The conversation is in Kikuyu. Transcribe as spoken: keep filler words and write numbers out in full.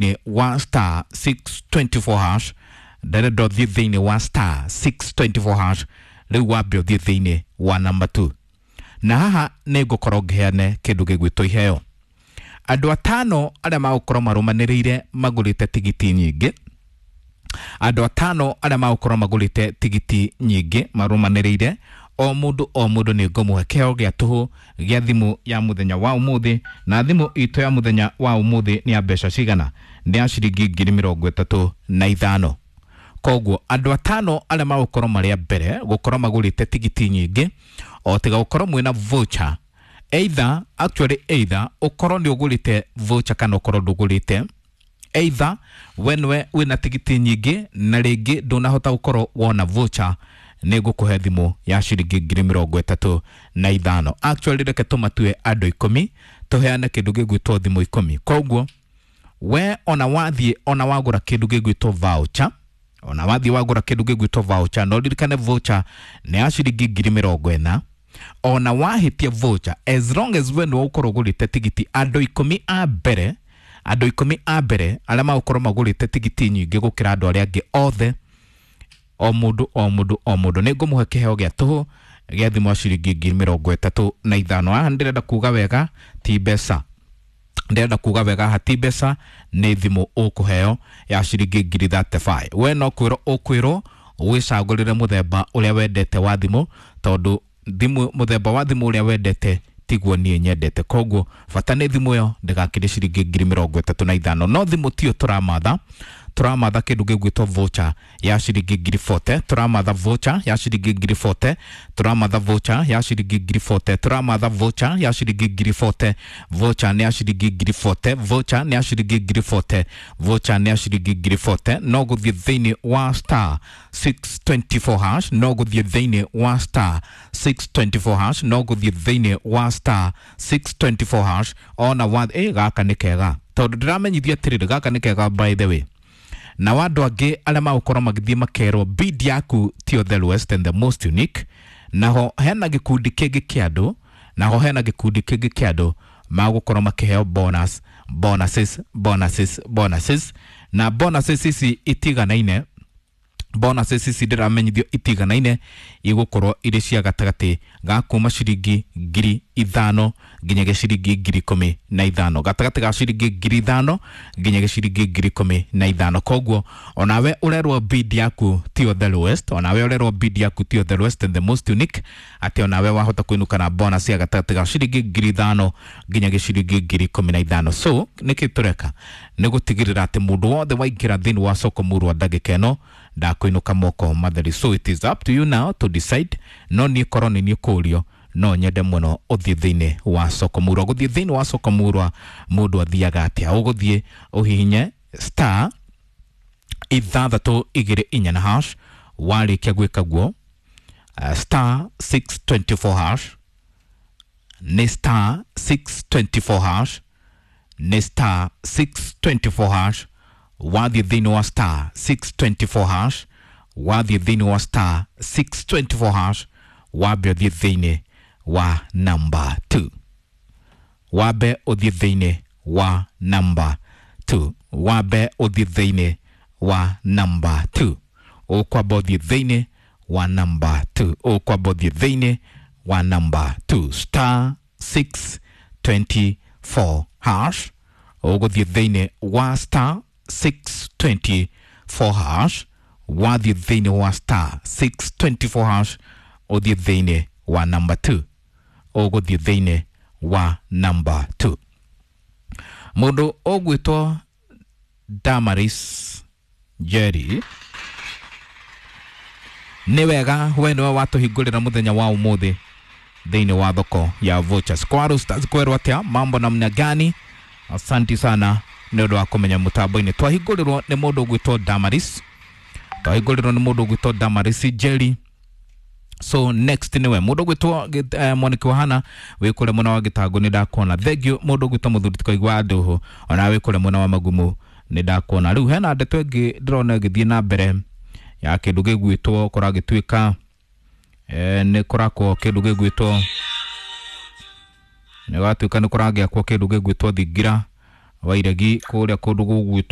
Thĩinĩ wa star six twenty four hash, ndarenda ũthiĩ thĩinĩ wa star six twenty four hash, rĩu wambe ũthiĩ thĩinĩ wa number two, na haha nĩ ngũkorwo ngĩheane kĩndũ gĩgwĩtwo iheo. Andũ atano arĩa magũkorwo marũmanĩrĩire magũrĩte tigiti nyingĩ, andũ atano arĩa magũkorwo magũrĩte tigiti nyingĩ marũmanĩrĩire, o mũndũ o mũndũ nĩ ngũmũhe kĩheo gĩa tũhũ gĩa thimũ ya mũthenya wa ũmũthĩ. Na thimũ itũ ya mũthenya wa ũmũthĩ nĩ ya mbeca cigana? Nĩ ya ciringi ngiri mĩrongo ĩtatũ na ithano. Koguo andũ atano arĩa magũkorwo marĩ a mbere gũkorwo magũrĩte tigiti nyingĩ, o tiga gũkorwo mwĩna voucher, either actually either ũkorwo nĩ ũgũrĩte voucher kana ũkorwo ndũgũrĩte, either we nĩwe wĩna tigiti nyingĩ na rĩngĩ ndũnahota gũkorwo wona voucher, nĩ ngũkũhe thimũ ya ciringi ngiri mĩrongo ĩtatũ na ithano. Actually reke tũmatue andũ ikũmi, tũheane kĩndũ gĩgwĩtwo thimũ ikũmi. Koguo we ona wathiĩ ona wagũra kĩndũ gĩgwĩtwo voucher, ona wathiĩ wagũra kĩndũ gĩgwĩtwo voucher, no ririkane voucher nĩ ya ciringi ngiri mĩrongo ĩna. Ona wahĩtia voucher, as long as we nĩwe ũkorwo ũgũrĩte tigiti, andũ ikũmi a mbere, andũ ikũmi a mbere arĩa magũkorwo magũrĩte tigiti nyingĩ gũkĩra andũ arĩa angĩ othe, o mũndũ o mũndũ o mũndũ nĩ ngũmũhe kĩheo gĩa tũhũ gĩa thimũ ya ciringi ngiri mĩrongo ĩtatũ na ithano. Haha ndĩrenda kuga wega ti mbeca, ndĩrenda kuga wega haha ti mbeca, nĩ thimũ ũkũheo ya ciringi ngiri thirty five. We no kwĩrwo ũkwĩrwo wĩcagũrĩre mũthemba ũrĩa wendete wa thimũ, tondũ thimũ mũthemba wa thimũ ũrĩa wendete tiguo niĩ nyendete. Koguo bata nĩ thimũ ĩyo ndĩgakĩrie ciringi ngiri mĩrongo ĩtatũ na ithano. No thimũ tiyo tũramatha, tũramatha kĩndũ gĩgwĩtwo voucher ya ciringi ngiri forty, tũramatha voucher ya ciringi ngiri forty, tũramatha voucher ya ciringi ngiri forty, tũramatha voucher ya ciringi ngiri forty. Voucher nĩ ya ciringi ngiri forty, voucher nĩ ya ciringi ngiri forty, voucher nĩ ya ciringi ngiri forty. No gũthiĩ thĩinĩ wa star six twenty four hash, no gũthiĩ thĩinĩ wa star six twenty four hash, no gũthiĩ thĩinĩ wa star six twenty four hash. Ona wa ĩ gaka nĩ kega, tondũ ndĩramenyithia atĩrĩrĩ, gaka nĩ kega by the way. Na andũ angĩ arĩa magũkorwo magĩthiĩ makerwo bid yaku tiyo the lowest and the most unique, naho hena gĩkundi kĩngĩ kĩa andũ, naho hena gĩkundi kĩngĩ kĩa andũ magũkorwo makĩheo bonus, bonuses, bonuses, bonuses. Na bonuses ici itiganaine, bonuses ici ndĩramenyithio itiganaine igũkorwo irĩ cia gatagatĩ ga kuma ciringi ngiri ithano nginyagia ciringi ngiri ikũmi na ithano, gatagatĩ ga ciringi ngiri ithano nginyagia ciringi ngiri ikũmi na ithano. Koguo onawe ũrerwo bid yaku tiyo the lowest, onawe ũrerwo bid yaku tiyo the lowest and the most unique, atĩ onawe wahota kũinũka na bonus ya gatagatĩ ga ciringi ngiri ithano nginyagia ciringi ngiri ikũmi na ithano. So nĩkĩ tũreka nĩ gũtigĩrĩra atĩ mũndũ wothe waingĩra thĩinĩ wa soko murwa ndagĩka ĩno ndakũinũka moko matheri. So it is up to you now to decide. No niĩ korwo nĩ niĩ kũrio, no nyende mũno ũthiĩ thĩinĩ wa soko murwa. Gũthiĩ thĩinĩ wa soko murwa mũndũ athiaga atĩa? Ũgũthiĩ ũhihinye star ithathatũ igĩrĩ inya na hash. Warĩkia gwĩka guo, uh, star six twenty four hash, nĩ star six twenty four hash, nĩ star six twenty four hash. Wathiĩ thĩinĩ wa star six twenty four hash, wathiĩ thĩinĩ wa star six twenty four hash, wambe ũthiĩ thĩinĩ wa number two, wambe ũthiĩ thĩinĩ wa number two, wambe ũthiĩ thĩinĩ wa number two, ũkwamba ũthiĩ thĩinĩ wa number two, ũkwamba ũthiĩ thĩinĩ wa number two, star six twenty four hash, ũgũthiĩ thĩinĩ wa star six twenty four hash, wathiĩ thĩinĩ wa star six twenty four hash, ũthiĩ thĩinĩ wa number two, ũgũthiĩ thĩinĩ wa number two. Mũndũ ũgwĩtwo Damaris Jerry, nĩ wega we nĩwe watũhingũrĩra mũthenya wa ũmũthĩ thĩinĩ wa thoko ya vouchers. Kwa Stars kwerwo atĩa, mambo namna gani? Asanti sana nĩ ũndũ wa kũmenya mũtambo-inĩ. Twahingũrĩrwo nĩ mũndũ ũgwĩtwo Damaris, twahingũrĩrwo nĩ mũndũ ũgwĩtwo Damaris Jerry. So next niwe mũndũ ũgwĩtwo eh, Mwaniki wa Hana wĩ kũrĩa mwena wa Gĩtangũ, nĩ ndakuona. Thank you mũndũ ũgwĩtwo mũthuri tũkaigua ndũhũ, ona wĩ kũrĩa mwena wa Magumu nĩ ndakuona. Rĩu hena ndeto ĩngĩ ndĩrona ĩgĩthiĩ na mbere ya kĩndũ gĩgwĩtwo kũragĩtuĩka eh, nĩ kũrakwo kĩndũ gĩgwĩtwo nĩ gwatuĩka nĩ kũragĩakwo kĩndũ gĩgwĩtwo thingira Wairegi kũrĩa kũndũ gũgwĩtwo.